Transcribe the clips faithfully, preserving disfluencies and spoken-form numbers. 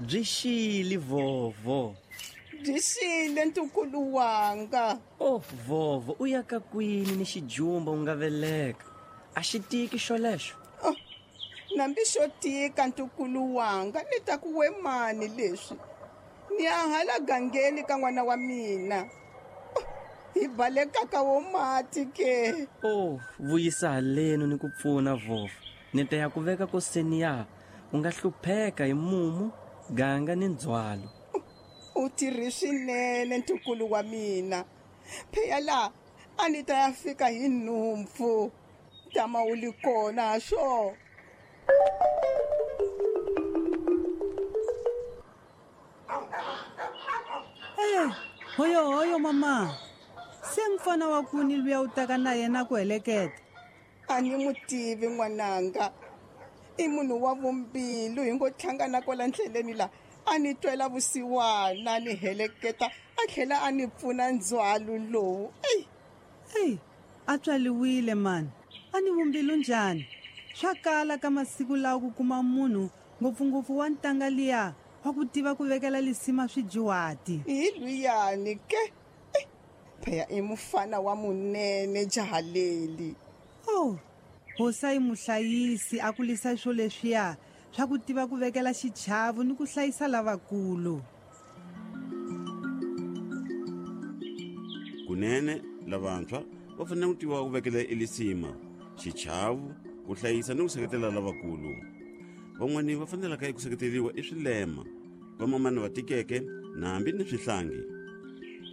Byi xile vovo. Byi xile ntukulu wanga. Oh vovo, u ya ka kwini ni xijumba u nga veleka? A xi tiki xolexo? Oh, nambi xo tika ntukulu wanga, ni ta ku we mani leswi. Ni ya hala gangeni ka n'wana wa mina. Oh, hi baleka ka wo mati ke. Oh, vuyisa halenu ni ku pfuna vovo. Ni ta ya ku veka koseni ya. U nga hlupheka hi mumu, ganga ni ndzhwalo. U tirhi swinene ntukulu wa mina. Phela la a ni ta ya fika hi nhumpfu. Tama u li kona swo. Eh, hoyo hoyo mama. Se mfana wa kuni luya u taka na yena ku heleketa. A ni n'wi tivi n'wananga. I munhu wa vumbilu hi ngo hlangana kwala ndleleni la. A ni twela vusiwana ni heleketa a tlhela a ni pfuna ndzhwalo lowu. Ey, ey, a tswaliwile mani. A ni vumbilu njhani? Swa kala ka masiku lawa ku kuma munhu ngopfungopfu wa ntanga liya wa ku tiva ku vekela lisima swijuwati. Hi luyani ke. Phela i mufana wa munene jahaleli. Oh, hosa i muhlayisi a kulisa swo leswiya swa ku tiva ku vekela xichavo ni ku hlayisa lavakulu. Kunene lavantshwa va fanele ku tiva ku vekela elisima, xichavo, ku hlayisa ni ku seketela lavakulu. Van'wani va fanelaka eku seketeriwa i swilema, vamamani va tikeke na hambi ni swihlangi.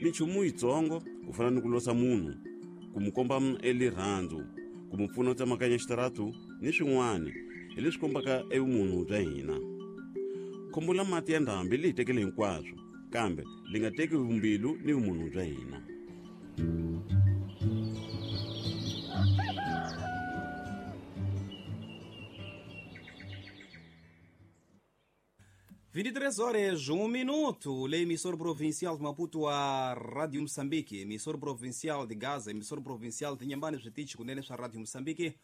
Minchumu yitsongo ku fana ni ku losa munhu, ku mu komba elirhandzu, ku mu pfuna u tsemakanya xitaratu ni swin'wana hi leswi kombaka evumunhu bya hina. Khombo la mati ya ndhambi li hi tekele hinkwaswo, kambe li nga teki vumbilu ni vumunhu bya hina. vinte e três horas, um minuto. Lei emissora provincial de Maputo, a Rádio Moçambique, emissora provincial de Gaza, emissora provincial de Inhambane, switichi kunene swa Rádio Moçambique.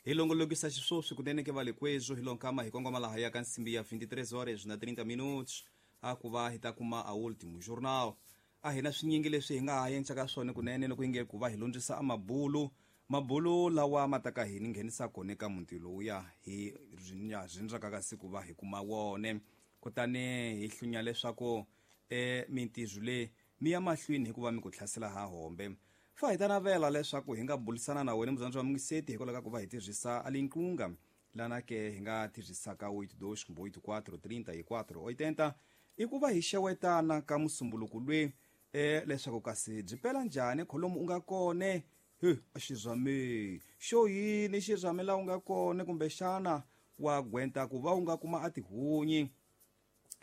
Hi longolokisa xiswoswi kunene ke vale kwezo hi lonkama hi kongoma laha ya ka nsimbi ya vinte e três horas na trinta minutos a ku va hi ta kuma a último jornal. A hi na swinyingi leswi hi nga ha endlaka swona kunene loko hi nge ku va hi lundzisa a mabulu mabulu lawa ma ta ka hi ni nghenisa kona eka muti lowuya hi rindzaka ka siku va hi kuma wone. Kutani hi hlunya leswaku e mintirho leyi mi ya mahlweni hikuva mi ku hlasela ha hombe. Fa hi ta navela leswaku hi nga bulisana na wena muzanzi wa mungiseti hikwalaho ka ku va hi tirhisa a linqunga lana ke hi nga tirhisaka oito dois oito quatro trinta e quatro oitenta i ku va hi xewetana ka musumbuluku lwe e leswaku kasi byi pela njhani kholomu u nga kone he a xizame xo yini xizame la u nga kone kumbexana wa gwenta ku va u nga kuma a tihunyi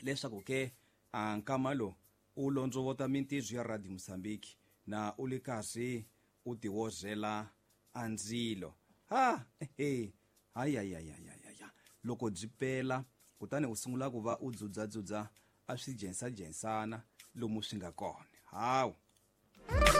leswaku ke a nkama lo u londzovota mintirho ya Radio Moçambique na u le karhi u tiwozela a ndzilo. Ha he hayi hayi hayi hayi loko byi pela kutani u sungula ku va u dzudzadzudza a swi jensajensana lomu swi nga kona. Hawu.